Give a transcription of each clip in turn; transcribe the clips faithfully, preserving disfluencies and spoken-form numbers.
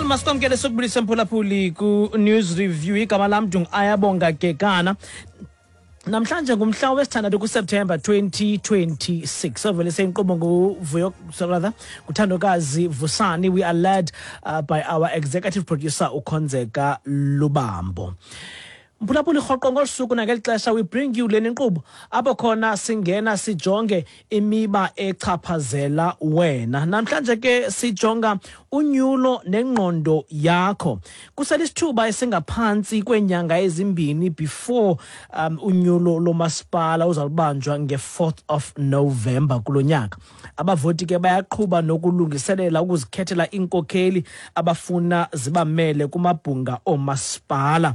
Masikwamkele, sokubulisa, mphulaphuli, ku-News Review. Igama lam ndingu-Ayabonga Kekana. Namhlanje ngumhla wesithandathu kuSeptemba twenty twenty-six. Ovelise inkqubo nguVuyo, rather nguthandokazi Vusani. We are led uh, by our executive producer, uKhonzeka Lubambo. Mphulaphuli, rhoqo ngolu suku nangeli xesha we bring you le nkqubo apho khona singena sijonge imiba echaphazela wena. Namhlanje ke sijonga unyulo nengqondo yakho. Kuselisithuba esingaphantsi kweenyanga ezimbini before um, unyulo lomasipala uzawubanjwa nge-fourth of November kulo nyaka. Abavoti ke bayaqhuba nokulungiselela ukuzikhethela iinkokheli abafuna zibamele kumabhunga oomasipala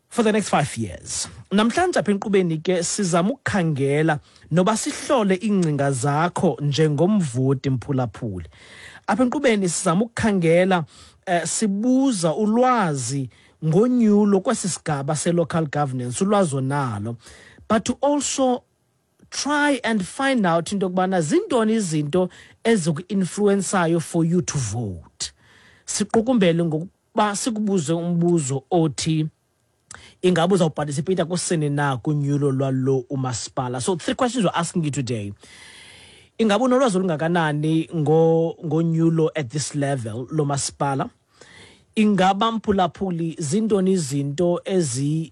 for the next five years. Namhlanje apha enkqubeni ke sizama ukukhangela noba sihlole iingcinga zakho njengomvoti, mphulaphuli. Apha enkqubeni sizama ukukhangela, eh, sibuza ulwazi ngonyulo kwesi sigaba se-local governance, ulwazi onalo, but to also try and find out into yokubana zintoni izinto eziku-influensayo for you to vote. Siqukumbele ngokuba sikubuze umbuzo othi ingabe uzawuparticipata kusini na kunyulo lwalo umasipala. So three questions we're asking you today: ingabe unolwazi olungakanani ngo ngonyulo at this level lomasipala? Ingaba, mphulaphuli, zintoni izinto ezi